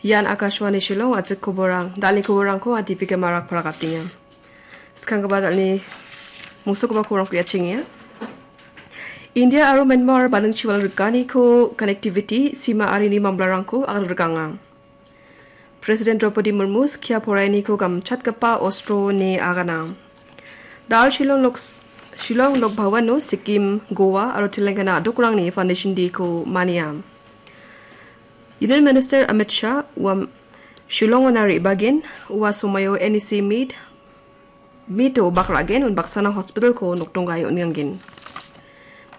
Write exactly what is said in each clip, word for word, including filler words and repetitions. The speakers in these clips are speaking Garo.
Ian Akashvani Shillong, ajik koborang, dal·ni koborangko Adipika Marak parakatenga. Skanggipa dal·ni musogipa koborangko ia·chengenga. India aro Myanmar balingchi wal rikaniko connectivity, sima arini mamlarangko agangrikanga. President Draupadi Murmu skia poraianiko gamchatgipa ostro ine agana. Dal Shillong Lok-, Shillong Lok Bhavano Sikkim, Goa aro Telangana a·dokrangni Foundation Day-ko mania. Union Minister Amit Shah ua Shillongona re·bagen, ua somoio N E C meet, meet-o bak ra·gen, unbaksana hospital-ko nokdonggae on·angen.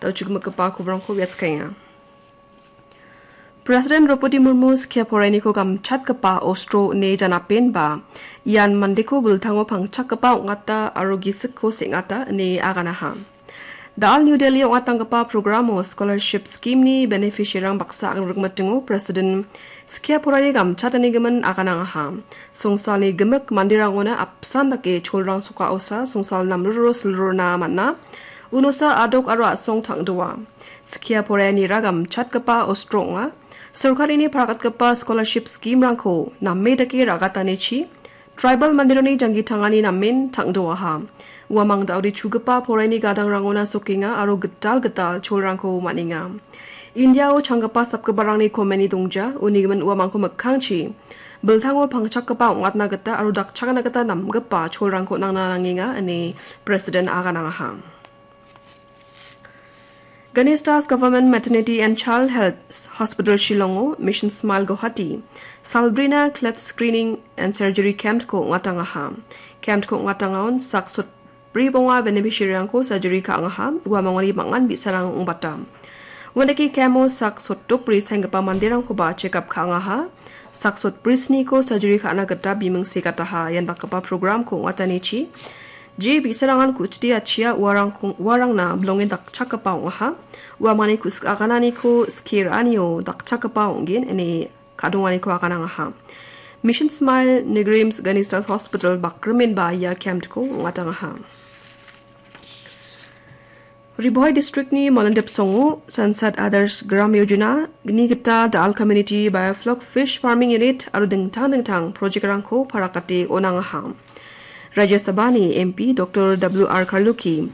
Dal·chugimikgipa koborangko ia·chakaenga. President Draupadi Murmu skia poraianiko gamchatgipa ostro ine janapenba, ian mandeko biltango pangchakgipa ong·ata aro gisikko seng·ata ine aganaha. Dal New Delhi ong·atanggipa programo scholarship scheme-ni beneficiary-rang baksa agangrikmitingo President skia poraiani gamchatanigimin aganangaha. Songsalni gimik manderangona apsan dake cholrang sokaosa songsal namruro silrona man·a. Unosa a·dok aro a·song tang·doa. Skia poraianira gamchatgipa ostro ong·a. Sorkarini parakatgipa scholarship scheme-rangko name dake ra·gatanichi, tribal manderangni janggi tangani namen tang·doaha. Uamang da·ode chugipa poraiani gadangrangona sokenga aro gital gital cholrangko man·enga. Indiao changgipa sapgiparangni komeni dongja, uni gimin uamangko mikkangchi biltango pangchakgipa ong·atna gita aro dakchakna gita namgipa cholrangko nangna nangenga, ine President aganangaha. Ganesh Das Government Maternity and Child Health Hospital Shillongo Mission Smile Guwahati salbrina cleft screening and surgery camp-ko ong·atangaha. Camp-ko ong·atangaon sak sotbri bonga beneficiary-rangko surgery ka·angaha, uamangoni bang·an bi·sarang ong·bata. Uandake camp-o sak sotdokbri saenggipa manderangkoba check up ka·angaha. Sak sotbri sniko surgery ka·na gita biming segataha, ian dakgipa program-ko ong·atanichi. Je bi·sarangan ku·chide achia uarangko-, uarangna bilongen dakchakgipa ong·aha. Uamangni ku·sik agananiko skie ra·anio dakchakgipa ong·gen ine ka·donganiko aganangaha. Mission Smile Nigrims Ganesh Das Hospital bakrimenba ia camp-ko ong·atangaha. Ri Bhoi District-ni Molendip songo Sansad Adarsh Gram Yojana-ni gita Dal Community Biofloc Fish Farming Unit aro dingtang dingtang project-rangko parakate on·angaha. Rajya Sabhani M P Doctor W R Kharlukhi,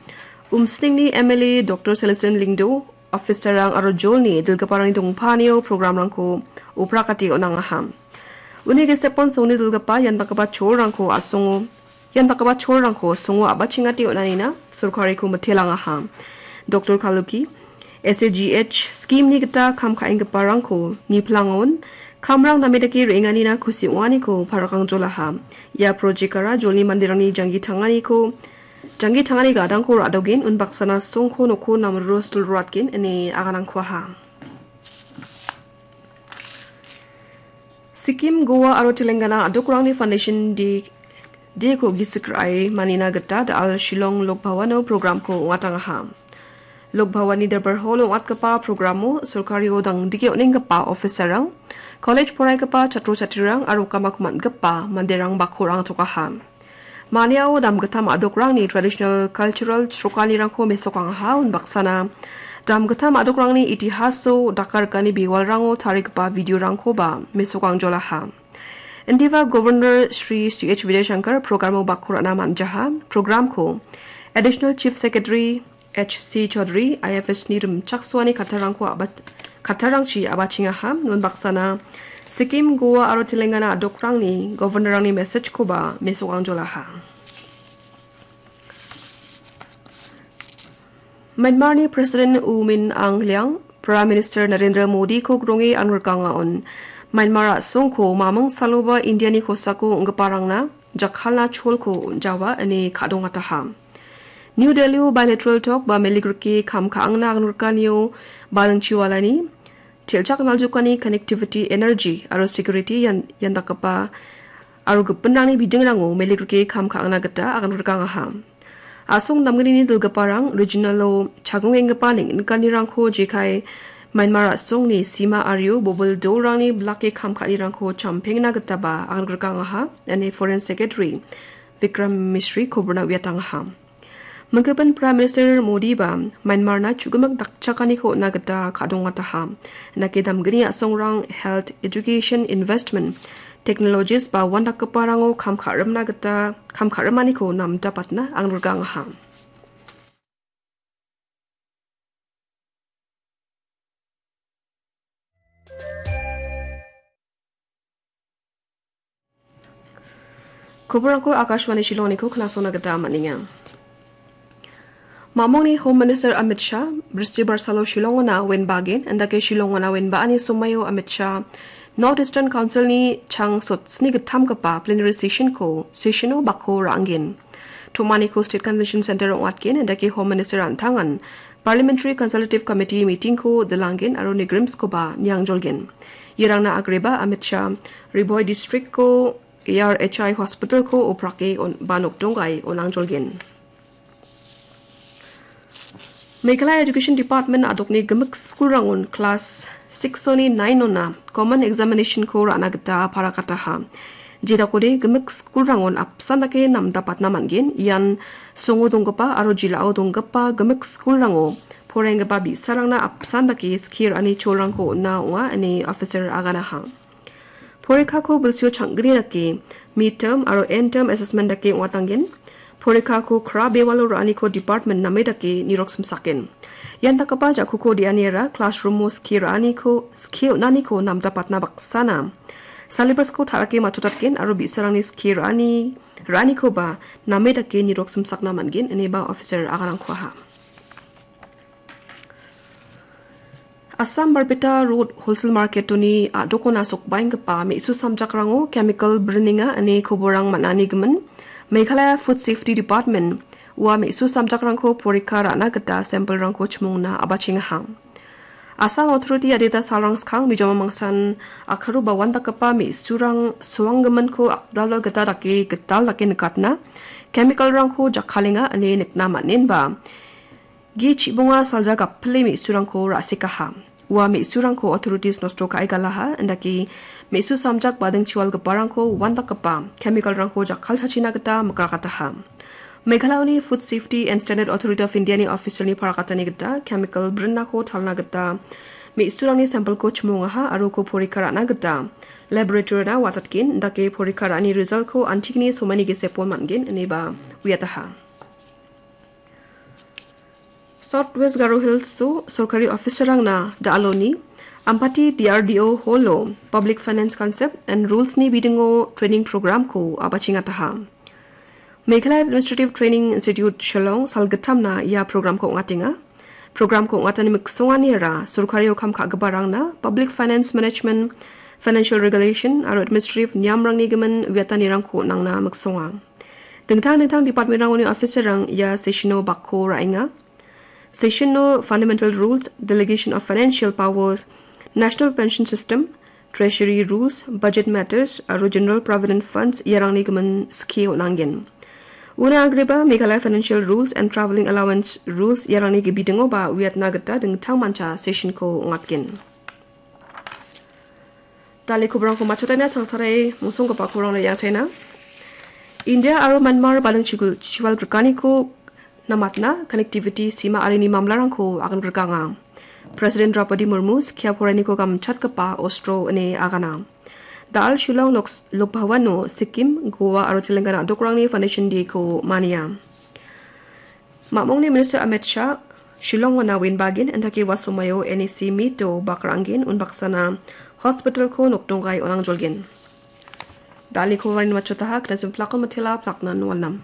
Umsningni M L A Doctor Celestine Lyngdoh, officer-rang aro jolni dilgiparangni dongpanio program-rangko uprakate on·angaha. Uni gisepon songni dilgipa ian dakgipa cholrangko a·songo, ian dakgipa cholrangko songo a·bachengate on·anina sorkariko mitelangaha. Doctor Kharlukhi, S A G H scheme-ni gita kam ka·enggiparangko niplangon, kamrang name dake re·enganina kusi ong·aniko parakangjolaha. Ia project-ara jolni manderangni janggi tanganiko, janggi tangani gadangko ra·dogen, unbaksana songko nokko namruro silroatgen ine aganangkuaha. Sikkim, Goa aro Telangana a·dokrangni Foundation Day, Day-ko gisik ra·e manina gita Dal Shillong Lok Bhavano program-ko ong·atangaha. Lok Bhavanni Darbar Hall ong·atgipa programo sorkario dangdike on·enggipa officer-rang, college poraigipa chatro chatrerang aro ukamaku man·gipa manderang bakko ra·angtokaha. Maniao damgittam a·dokrangni traditional cultural chrokanirangko mesokangaha, unbaksana damgittam a·dokrangni itihaso dakarikani bewalrango tarigipa video-rangkoba mesokangjolaha. Indiba Governor Shri C H Vijayashankar programo bakko ra·na man·jaha. Programko Additional Chief Secretary H C Chaudhary, I F S-ni rimchaksoani kattarangko aba-, kattarangchi abachengaha. Unbaksana Sikkim, Goa aro Telangana a·dokrangni Governor-rangni message-koba mesokangjolaha. Myanmar-ni President U Min Aung Hlaing, Prime Minister Narendra Modi-ko gronge angrikanga on. Myanmar a·songko maming saloba India-ni kosako ong·giparangna jakkalna cholko on·jawa ine ka·dongataha. New Delhi-o bilateral talk ba meligrike kam ka·angna angrikani-o balingchi walani, til·chak naljokani connectivity, energy aro security ian, ian dakgipa aro gipinrangni bidingrango meligrike kam ka·angna gita aganrikangaha. A·song namgnini dilgiparang regional-o chagongenggipa neng·nikanirangko jekai Myanmar a·songni sima ario bobil dolrangni bilake kam ka·anirangko champengna gitaba aganrikangaha, ine Foreign Secretary Vikram Misri koborna uiatangaha. Minggipa Prime Minister Modi ba Myanmarna chu·gimik dakchakaniko on·na gita ka·dongataha. Indake damgni a·songrang health, education, investment, technologies ba uandakgiparango kam ka·rimna gita, kam ka·rimaniko namdapatna angrika angaha. Koborangko Akashvani Shillongniko knasona gita man·enga. Mamongni Home Minister Amit Shah, Bristibar salo Shillongona wenbagen, indake Shillongona wenba·ani somaio Amit Shah, North Eastern Councilni chang sotsni gittamgipa plenary sessionko, sessiono bako ra·angen. Tomaniko State Convention Center ong·atgen, indake Home Minister an·tangan Parliamentary Consultative Committee meetingko dilanggen aro nigrimskoba niangjolgen. Iarangna agreba Amit Shah Ri Bhoi Districtko A R H I Hospitalko oprake on-, ba nokdonggae on·angjolgen. Meghalaya Education Department a·dokni gimik skulrangon class six-oni nine-ona common examination-ko ra·na gita parakataha. Jedakode gimik skulrangon apsan dake namdapatna man·gen, ian songo donggipa aro jilao donggipa gimik skulrango poraienggipa bi·sarangna apsan dake skie ra·ani cholrangko on·a ong·a ine officer aganaha. Porikako bilsio chang·gni dake mid term aro end term assessment dake ong·atangen. Porikako kra bewalo ra·aniko department name dake nirok simsaken. Ian dakgipa ja·kuko de·aniara classroom-o skie ra·aniko, skie on·aniko namdapatna baksana syllabus-ko ta·rake matchotatgen aro bi·sarangni skie ra·ani, ra·anikoba name dake nirok simsakna man·gen, ineba officer aganangko aha. Assam Barpeta Road Wholesale Market-oni a·dokona sokbaenggipa me·su samjakrango chemical brinenga ine koborang man·anigimin, Meghalaya Food Safety Department ua me·su samjakrangko porikka ra·na gita sample-rangko chimongna abachengaha. Assam Authority adita salrang skang bijoma mangsan akaro ba uandakgipa me·surang suanggiminko akdaldal gita dake gital dake nikatna, chemical-rangko jakkalenga ine nikna man·enba, G chibonga salja gapile me·surangko ra·sikaha. Ua me·surangko authorities nosto ka·e galaha, indake me·su samjak bading chiwalgiparangko uandakgipa chemical-rangko jakkalchachina gita mikrakataha. Meghalayani Food Safety and Standard Authority of India-ni official-ni parakatani gita chemical brinako talna gita me·surangni sample-ko chimongaha aro uko porikka ra·na gita laboratory-na watatgen, indake porikka ra·ani result-ko antigni somaini gisepon man·gen ineba uiataha. South West Garo Hills-o sorkari officer-rangna da·aloni Ampati D R D O Hall-o Public Finance Concept and Rules-ni bidingo training program-ko abachengataha. Meghalaya Administrative Training Institute Shillong salgittamna ia program-ko ong·atenga. Program-ko ong·atani miksonganiara sorkario kam ka·giparangna Public Finance Management, Financial Regulation aro Administrative niamrangni gimin uiatanirangko on·angna miksonga. Dingtang dingtang department-rangoni officer-rang ia session-o bakko ra·enga. Session-o Fundamental Rules, Delegation of Financial Powers, National Pension System, Treasury Rules, Budget Matters aro General Provident Funds iarangni gimin skie on·angen. Una agreba Meghalaya Financial Rules and Travelling Allowance Rules iarangni gibidingoba uiatna gita dingtangmancha session-ko ong·atgen. Dal·e koborangko matchotna changsare mosonggipa koborangna iangachaina. India aro Myanmar bading chigul chiwal grikaniko namatna connectivity sima arini mamlarangko agan grikanga. President Draupadi Murmu skia porainiko gamchatgipa ostro ine agana. Dal Shillong Loks-, Lok Bhavan-o Sikkim, Goa aro Telangana a·dokrangni Foundation Day-ko mania. Mamongni Minister Amit Shah Shillong-ona winbagen, indake ua somaio N E C meet-o bakranggen, unbaksana hospital-ko nokdonggai on·angjolgen. Dal·e koborangni matchotaha, knasem plakon matela plaknan walnam.